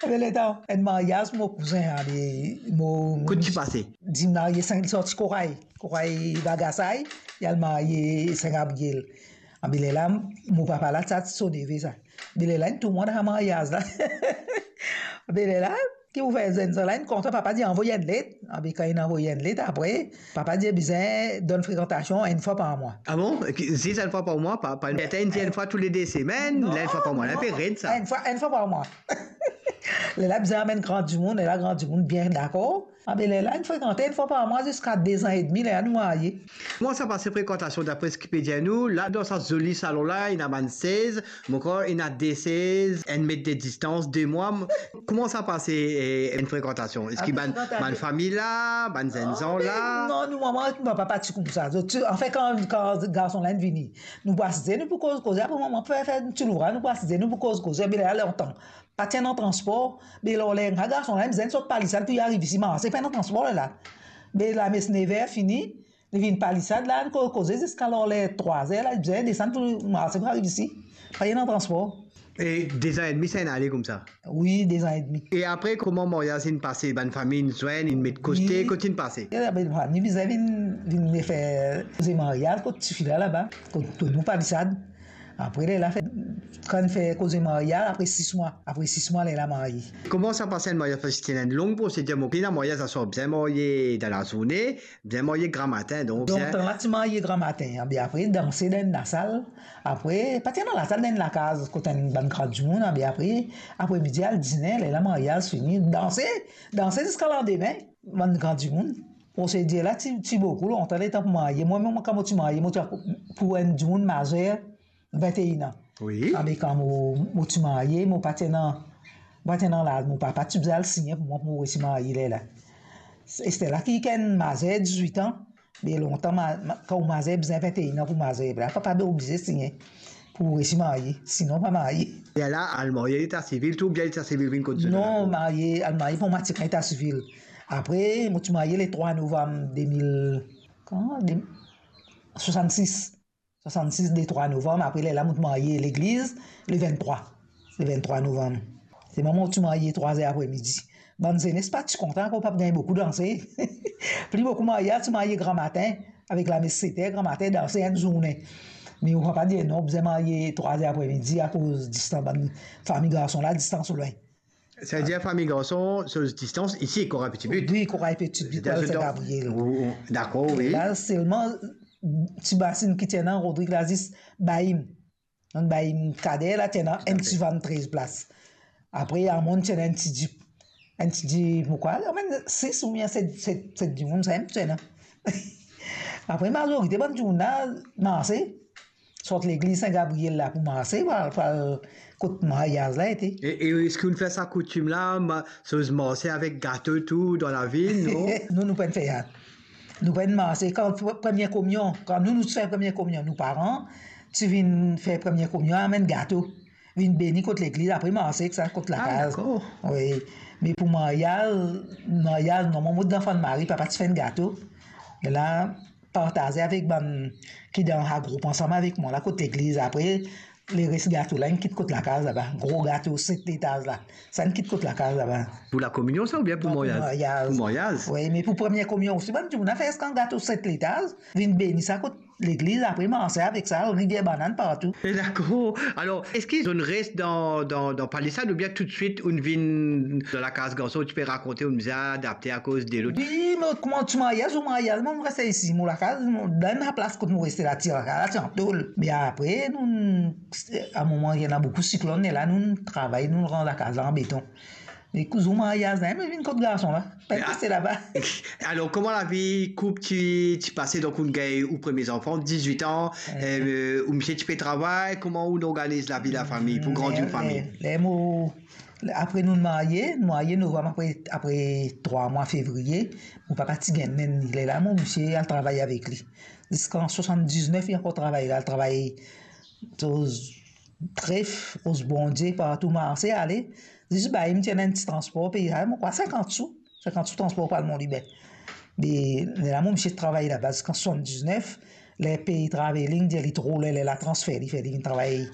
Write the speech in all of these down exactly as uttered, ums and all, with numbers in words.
Be letan, enn maryaz mo kouzin, a, be, mo... Kot ti pase? Dimoun la, li sorti Koray, Koray Bagasay, li al marye Sin Gabriel. A, be lerla, mo papa la, sa so neve sa. Be lerla, inn tourmant sa maryaz la. Be lerla, ki pou fer, zenn sa la, inn kontan, papa dir anvoy enn let. A, be kan inn anvoy enn let, apre, papa dir bizin donn frekantasion enn fwa par mwa. Ah bon? Ki, zis enn fwa par mwa? Pa, pa, inn dir enn fwa toule de semenn, non, la, enn fwa par mwa. Non. Enn fwa, enn fwa par mwa. Lerla bizin amenn gran dimoun, lerla gran dimoun bien dakor. A, be lerla, inn frekante enn fwa par mwa ziska dezan edmi, lerla nou marye. Kouma sa pase frekantasion, dapre seki pe dir nou, la dan sa zoli salon la, ena bann sez, mo krwar ena de sez, enn met de distans, de mwa. Kouma sa pase, eh, enn frekantasion? Eski bann, bann fami la, bann zenn zan la? Non, nou, mama ek papa pa ti koumsa. Zot ti, anfin, kan, kan garson la inn vini, nou pou asize, nou pou koz, koze, apre mama pou fer, fer ti louvraz, nou pou asize, nou pou koz, koze, be lerla lontan. Pa ti ena transpor, be lor ler, garson la, bizin sot Palisad pou li ariv isi, marse, pa ena transpor lerla. Be lames nev er fini, li vinn Palisad la, nou ko-, koze ziska lor ler trwa zer la, bizin desann pou marse pou ariv isi. Pa ena transpor. E dezan edmi, sa inn ale koumsa? Wi, dezan edmi. E apre, kouma maryaz inn pase? Bann fami inn zwenn, inn met kote, wi, kot inn pase? E bann fami bizin vinn, vinn fer koze maryaz kot tifi la laba, kot, kot nou Palisad. Apre, lerla fer, kan fer koze maryaz, apre sis mwa. Apre sis mwa, lerla marye. Kouma sa pase enn maryaz? Paski ti ena enn long prosedir, mo, ena maryaz aswar, bizin marye dan lazourne, bizin marye gramatin, donk... Donk, bizin, tan la ti marye gramatin, a, be apre, danse dan enn lasal. Apre, pa ti ena lasal, dan enn lakaz, kot enn bann gran dimoun, a, be apre, apre midi, al dine, lerla maryaz fini, danse, danse ziska landime, bann gran dimoun. Prosedir la ti, ti boukou lontan, letan pou marye. Mwa mem, kan mo ti marye, mo ti pou enn dimoun mazer, vinte et un an. Wi. A, be kan mo, mo ti marye, mo pa ti ena, pa ti ena laz, mo papa ti bizin al signe pou mwa pou mo resi marye lerla. Ester la ki, ki enn mazer dizwit an, be lontan, ma, ma, kan ou mazer, bizin vinte et un an pou mazer, la papa be oblize signe pou resi marye, sinon pa marye. E la, al marye leta sivil tou, oubien leta sivil vinn kot zot? Non, marye, al marye pou mwa ti leta sivil. Apre, mo ti marye le trwa novam de mil, kan, de, swasannsis. Swasannsis, le trwa novam, apre lerla mo ti marye legliz, le venntrwa, le venntrwa novam. Se mwa mem ti marye trwa zer apre midi. Bann zenes pa ti kontan, akoz pa ti gagn boukou danse. Pli boukou maryaz ti marye gramatin, avek lames set er, gramatin danse enn zourne. Me mo papa dir non, bizin marye trwa zer apre midi, akoz distans, bann fami garson la, distans lwin. Savedir fami garson, so distans isi, Koray Petitbut. Wi, Koray Petitbut, Koray Sin Gabriel. Ou, ou, dakor, wi. La selman, ti masinn ki ti ena Rodrig la, zis Baim. Donk Baim Kader la ti ena enn ti van trez plas. Apre, Amon ti ena enn ti Jeep. Enn ti Jeep, mo krwar, amenn sis oubien set, set, set dimoun, sa mem ti ena. Apre, mazorite bann dimoun la, marse. Sort legliz Sin Gabriel la pou marse, pou al, pou al kot maryaz la ete. E, e eski ou'nn fer sa koutim la, ma-, so marse avek gato tou dan lavil, non? Non, nou pa'nn fer sa. Nou pa'nn marse. Kan pr-, premie kominyon, kan nou, nou ti fer premie kominyon, nou paran ti vinn fer premie kominyon, amenn gato, vinn beni kot legliz, apre marse ek sa kot lakaz. Ah, dakor. Wi. Me pou maryaz, maryaz, non, mwa mo dan fann mari, papa ti fer enn gato. E la, partaze avek bann ki dan sa group ansam avek mwa la kot legliz. Apre, leres gato la, inn kit kot lakaz laba. Gro gato, set letaz la. Sa inn kit kot lakaz laba. Pou lakominyon sa oubien pou maryaz? Non, pou maryaz. Pou maryaz. Wi, me pou premie kominyon osi, bann dimoun la fer sa, enn gato set letaz, vinn beni sa kot legliz, apre marse avek sa, Rivier Banane partou. E dakor. Alor, eski zot inn res dan, dan, dan Palisad oubien toutswit ou'nn vinn dan lakaz garson, ou ti pe rakonte, ou'nn bizin adapte akoz de lot? Wi, mo, kouma ti marye, zour maryaz, mo reste isi, mo lakaz, mo, dan laplas kot mo reste la, ti lakaz la, ti an tol. Me apre, nou, a moman, ena boukou siklonn, e la, nou travay, nou rann lakaz la an beton. E kou zour maryaz la, mo vinn kot garson la. Pa'nn reste laba. Alor, kouma lavi koup ti, ti pase? Donk, ou'nn gagn ou premie zanfan, dizwit an, eh, ou misie ti pe travay, kouma ou'nn organiz lavi lafami pou grandi ou fami? Ler, ler, ler mo, apre nou marye, nou marye novam, apre, apre trwa mwa, fevriye, mo papa ti gagn nenn li. Lerla mo misie al travay avek li. Ziska swasanndiznef, li ankor travay la, al travay, koz tref, koz Bondie, partou marse, ale. Zis Baim ti ena enn ti transpor, peye, mo krwar, sinkant sou. Sinkant sou transpor pou al Mont Liber. Me lerla mo misie travay laba ziska swasanndiznef, ler pey traveling, dir li tro, ler, lerla transfer li, fer li vinn travay,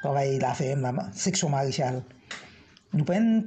travay laferm la, seksion Marechal. Nou pa'nn